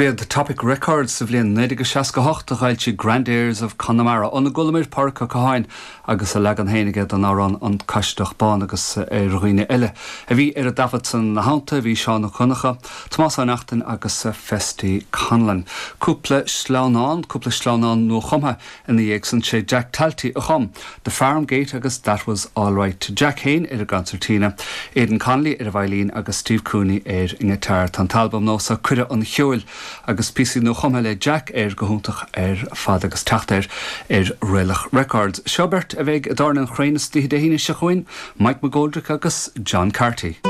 Dob iad Topic Records sa bhliain 1968 a dh'fhoilsigh Grand Airs of Connemara óna gcualamar Pádraic Ó Catháin agus a leagan féin aige den amhrán An Caisideach Bán agus ar dhaoine eile a bhí ar an dtaifead san ina theannta bhí Seán Ó Donnchadha, Tomás Ó Neachtain agus Festy Conlon. Cúpla sleamhnán, cúpla sleamhnán nuachumtha Ina dhiaidh san sé Jack Talty a chum The Farm Gate agus That Was Alright. Jack féin ar an gconsairtína, Aidan Connolly ar an veidhlín agus Steve Cooney ar an ngiotár. Tá an t-albam nua so Cuireadh an Cheoil agus píosaí nuachumtha le Jack air go hiontach ar fad agus teacht air ar Raelach Records. Seo beirt a bheidh i dTábhairne an Chraoibhín istoíche Dé hAoine seo chugainn, Mike McGoldrick agus John Carty.